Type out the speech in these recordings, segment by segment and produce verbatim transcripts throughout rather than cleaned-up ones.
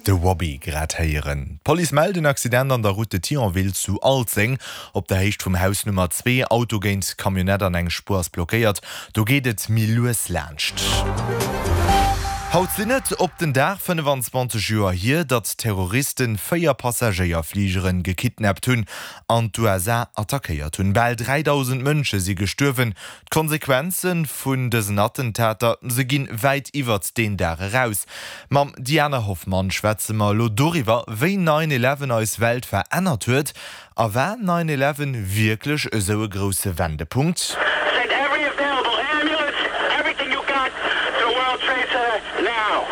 De Robbie grad héieren. D'Police mellt en Accident an der Route de Thionville zu Alzeng. Op der Héicht vum Haus Nummer zwee, Auto géint Camionnette an eng Spuer ass blockéiert. Do geet et méi lues laanscht. Haut sinn et op den Dag fënnefan zwanzeg Joer hier, datt Terroristen véier Passagéierfligeren gekidnappt hunn an d'U S A attackéiert hunn. Bal dräidausend Mënsche si gestuerwen. D'Konsequenze vun dësen Attentater, se ginn wäit iwwert deen Dag eraus. Mam Diana Hoffmann schwätze mer elo doriwwer, wéi nine eleven eis Welt verännert huet. A war nine eleven wierklech esou e grousse Wendepunkt? Send every available ambulance, everything you got to the World Trade Center now.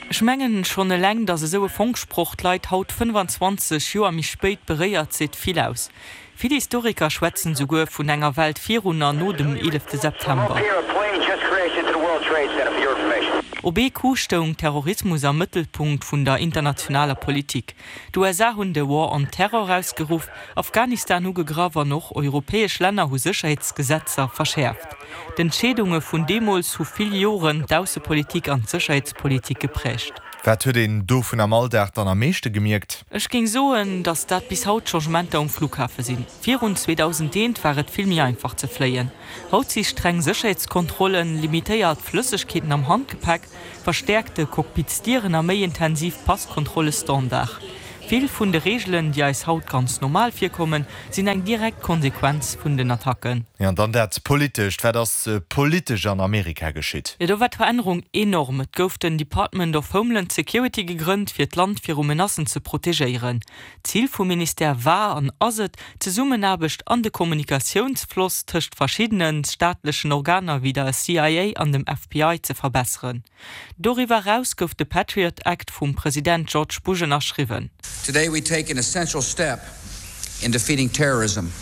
Ech mengen, schonn eleng, datt esou e Fonksproch d'Leit haut fënnefan zwanzeg Joer méi spéit beréiert, seet vill aus. Vill Historiker schwätzen souguer vun enger Welt virun an no dem eelefte September. Here, a plane just crashed into the World Trade Center for your information. Op ee Coup stoung Terrorismus am Mëttelpunkt vun der internationaler Politik. D'U S A hunn de War on Terror ausgeruff, Afghanistan ugegraff an och europäesch Länner hu Sécherheetsgesetzer verschäerft. D'Entscheedunge vun deemools hu vill Joren d'Aussepolitik an d'Sécherheetspolitik gepräägt. Wat huet een dovun am Alldag dann am meeschte gemierkt? Ech géing soen, datt dat bis haut Changementer um Flughafe sinn. Virun zweedausendeent war et vill méi einfach ze fléien. Haut si streng Sécherheetskontrollen, limitéiert Flëssegkeeten am Handgepäck, verstäerkte Cockpitsdieren a méi intensiv Passkontrolle Standard. Vill vun de Reegelen, déi eis haut ganz normal virkommen, sinn eng direkt Konsequenz vun den Attacken. Ja, an dann dat Politescht. Wat ass politesch an Amerika geschitt? Jo, do war d'Verännerung enorm. Et gouf den Department of Homeland Security gegrënnt, fir d'Land viru Menacen ze protegéieren. Zil vum Ministère war an ass et, d'Zesummenaarbecht an de Kommunikatiounsfloss tëscht verschiddene staatlechen Organer wéi der C I A an dem F B I ze verbesseren. Doriwwer eraus gouf de Patriot Act vum President George Bush ënnerschriwwen. Today we take an essential step in defeating terrorism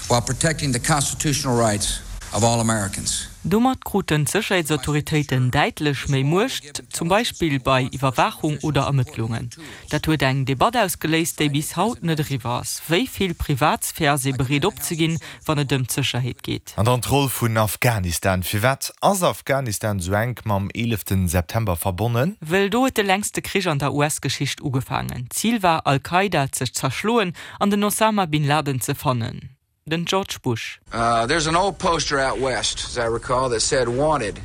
while protecting the constitutional rights of all Americans. Domat kruten d'Sécherheetsautoritéiten däitlech méi Muecht, zum Beispill bei Iwwerwaachung oder Ermëttlungen. Dat huet eng Debatt ausgeléist, déi bis haut net eriwwer ass: Wéi vill Privatsphär ass ee bereet opzeginn, wann et ëm d'Sécherheet geet? An dann d'Roll vun Afghanistan. Firwat ass Afghanistan sou enk mam eelefte September verbonnen? Well do huet de längste Krich an der U S-Geschicht ugefaangen. Zil war, Al-Qaida ze zerschloen an den Osama bin Laden ze fannen. Den George Bush. Uh, there's an old poster out west, as I recall, that said wanted,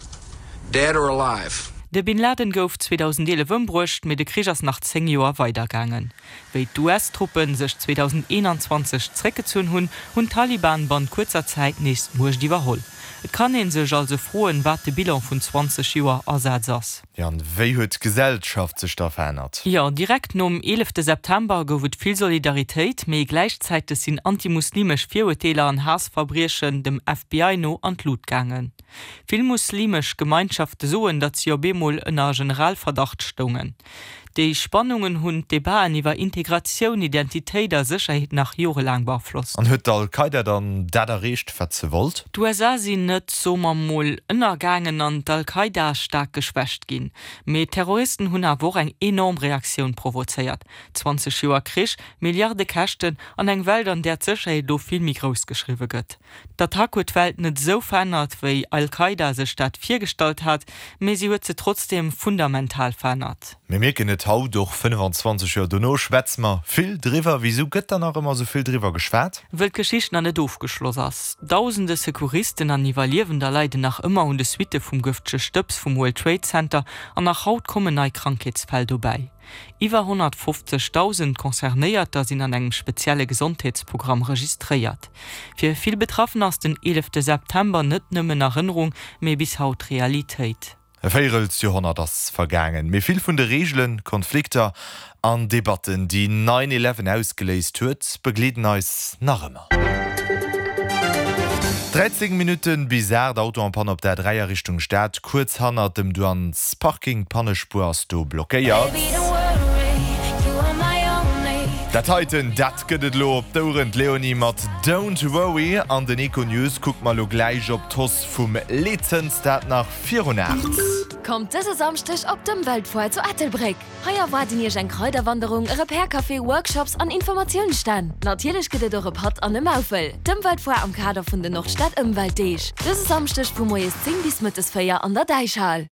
dead or alive. De Bin Laden gouf zweedausendeelef ëmbruecht, mee de Krich ass nach zéng Joer weidergaangen. Wéi d'U S-Truppe sech zweedausendeenanzwanzeg zréckgezunn hunn, hunn d'Taliban bannent kuerzer Zäit nees d'Muecht iwwerholl. Et kann ee sech also froen, wat de Bilan vun zwanzeg Joer Asaz ass. Jo, an wéi huet d'Gesellschaft sech da verännert? Jo, direkt nom eelefte September gouf et vill Solidaritéit, mee gläichzäiteg sinn antimuslimesch Virurteeler an Haassverbriechen dem F B I no an d'Lut gaangen. Vill muslimesch Gemeinschafte soen, datt si op eemol ënner Generalverdacht stoungen. Déi Spannungen hunn d'Debatten iwwer Integratioun, Identitéit a Sécherheet nach jorelaang beaflosst. An huet d'Al-Qaida dann dat erreecht, wat se wollt? D'U S A sinn net, soe mer mol, ënnergaangen an d'Al-Qaida ass staark geschwächt ginn. Mee d'Terroristen hunn awer och eng enorm Reaktioun provozéiert. zwanzeg Joer Krich, Milliarde Käschten an eng Welt, an där d'Sécherheet elo vill méi grouss geschriwwe gëtt. D'Attack huet d'Welt net esou verännert, wéi Al-Qaida sech dat virgestallt hat, mee si huet se trotzdeem fundamental verännert. Mir mierken et haut och, fënnefan zwanzeg Joer dono schwätze mer vill driwwer. Wisou gëtt dann nach ëmmer sou vill driwwer geschwat? Wëll d'Geschicht nach net ofgeschloss ass. Dausende Secouristen an Iwwerliewender leiden nach ëmmer un de Suitte vum gëftege Stëbs vum World Trade Center an nach haut kommen nei Krankheetsfäll dobäi. Iwwer honnertfofzegdausend Concernéierter sinn an engem spezielle Gesondheetsprogramm registréiert. Fir vill Betraffener ass den eelefte September net nëmmen Erënnerung, mee bis haut Realitéit. E Véierelsjoerhonnert ass vergaangen, mee vill vun de Reegelen, Konflikter an Debatten, déi nine eleven ausgeléist huet, begleeden eis nach ëmmer. dräizéng Minutten bis aacht. Auto en panne op der dräi a Richtung Stad, kuerz hannert dem Douanesparking. D'Pannespuer ass do blockéiert. Dat heiten, dat gëtt et elo op d'Oueren, d'Leonie mat Don't Worry. An den Econews kucke mer elo gläich op d'Hausse vum Leetzëns, dat nach virun aacht. Kommt dëse Samschdeg op d'Ëmweltfoire zu Ettelbréck. Hei erwaarden iech eng Kraiderwanderung, e Repair Café, Workshops an Informatiounsstänn. Natierlech gëtt et och e Patt an e Maufel. D'Ëmweltfoire am Kader vun den Nordstad Ëmweltdeeg. Dëse Samschdeg vu moies zéng bis mëttes véier an der Däichhal.